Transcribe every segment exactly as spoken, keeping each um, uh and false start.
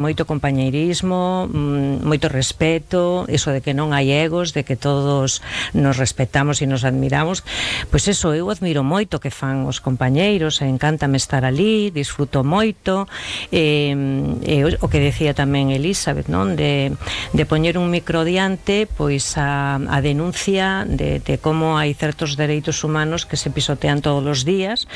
moito compañeirismo, moito respeto, eso de que non hai egos, de que todos nos respetamos e nos admiramos. Pois eso, eu admiro moito que fan os compañeiros, e encántame estar ali, disfruto moito, e, e o que decía tamén Elizabeth, non? De, de poñer un micro diante, pois a, a denuncia de, de como hai certos dereitos humanos que se pisotean todos os días,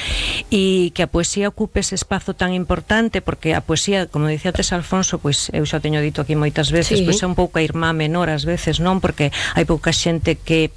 e que a poesía ocupe ese espazo tan importante, porque a poesía, como dicía antes Alfonso, pois eu xa teño dito aquí moitas veces, sí. Pois é un pouco a irmá menor ás veces, non? Porque hai pouca xente que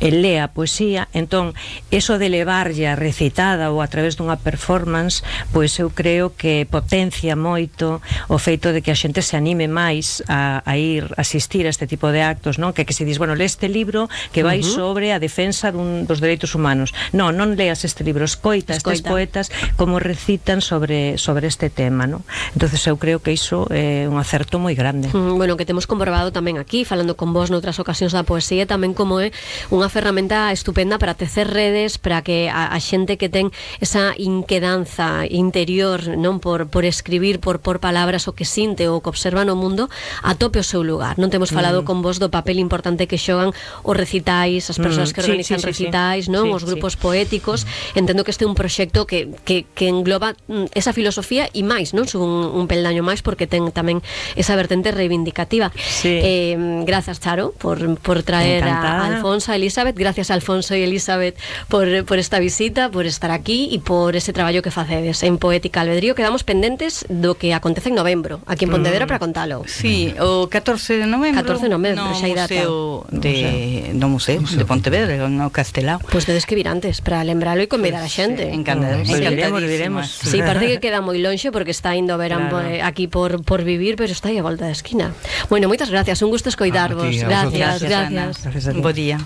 lea a poesía, entón, eso de levarlla recitada ou a través dunha performance, pois eu creo que potencia moito o feito de que a xente se anime máis a, a ir asistir a este tipo de actos, non? Que, que se dis, bueno, lee este libro que vai uh-huh. sobre a defensa dun, dos dereitos humanos. Non, non leas este libro, escoita, escoita. estes poetas como recitan sobre, sobre este tema, non? Entonces eu creo que iso é un acerto moi grande. Mm, bueno, que temos comprobado tamén aquí, falando con vos noutras ocasións da poesía, tamén como é unha ferramenta estupenda para tecer redes, para que a, a xente que ten esa inquedanza interior, non, por, por escribir, por, por palabras, o que sinte ou que observa no mundo, atope o seu lugar. Non temos falado mm. con vos do papel importante que xogan os recitais, as persoas mm. que organizan sí, sí, recitais, sí, non, sí, os grupos sí. poéticos. Entendo que este é un proxecto que, que, que engloba esa filosofía e máis, non? Un, un peldaño máis, porque ten tamén esa vertente reivindicativa. Sí. Eh, grazas, Charo, por, por traer Encantada. a Alfonso, a Elizabeth. Gracias, Alfonso e Elizabeth, por, por esta visita, por estar aquí e por ese traballo que facedes en Poética Albedrío. Quedamos pendentes do que acontece en novembro, aquí en Pontevedra, mm. para contalo. Sí, o catorce de novembro. catorce de novembro, no xa hai data. De, no museo de Pontevedra, no Castelao. Pois pues tedes que vir antes para lembralo e convidar pues, a xente. Sí, encantado. Pues diremos, diremos. Sí, parece que queda moi lonxe porque está indo a verán claro. aquí por, por vivir, pero está aí a volta da esquina. Bueno, moitas gracias, un gusto escoitarvos. Ah, gracias, gracias, gracias. gracias. Un bo día.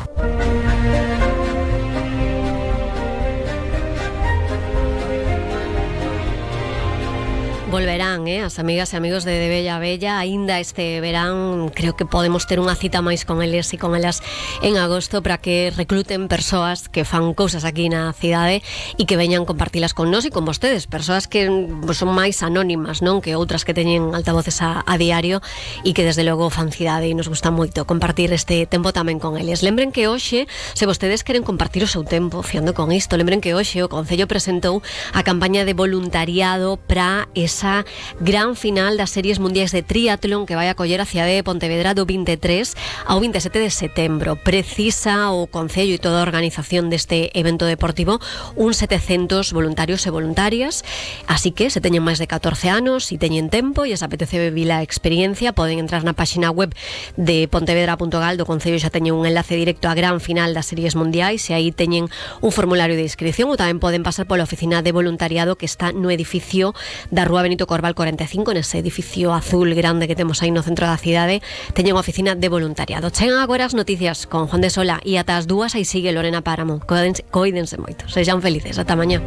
Volverán, eh, as amigas e amigos de, de Bella Bella aínda este verán. Creo que podemos ter unha cita máis con eles e con elas en agosto para que recluten persoas que fan cousas aquí na cidade e que veñan compartilas con nós e con vostedes, persoas que pues, son máis anónimas, non, que outras que teñen altavoces a, a diario e que desde logo fan cidade e nos gusta moito compartir este tempo tamén con eles. Lembren que hoxe, se vostedes queren compartir o seu tempo fiando con isto, lembren que hoxe o Concello presentou a campaña de voluntariado para esa gran final das series mundiais de triatlón que vai acoller a cidade de Pontevedra do vinte e tres ao vinte e sete de setembro. Precisa o Concello e toda a organización deste evento deportivo uns setecentos voluntarios e voluntarias, así que se teñen máis de catorce anos e teñen tempo e se apetece vivir a experiencia, poden entrar na página web de pontevedra punto gal do Concello, xa teñen un enlace directo á gran final das series mundiais e aí teñen un formulario de inscripción, ou tamén poden pasar pola oficina de voluntariado que está no edificio da Rúa Benito Corbal cuarenta e cinco, nese edificio azul grande que temos aí no centro da cidade. Teñen unha oficina de voluntariado. Chegan agora as noticias con Juan de Sola e ata as dúas aí sigue Lorena Páramo. Coídense moito, sexan felices, ata mañá.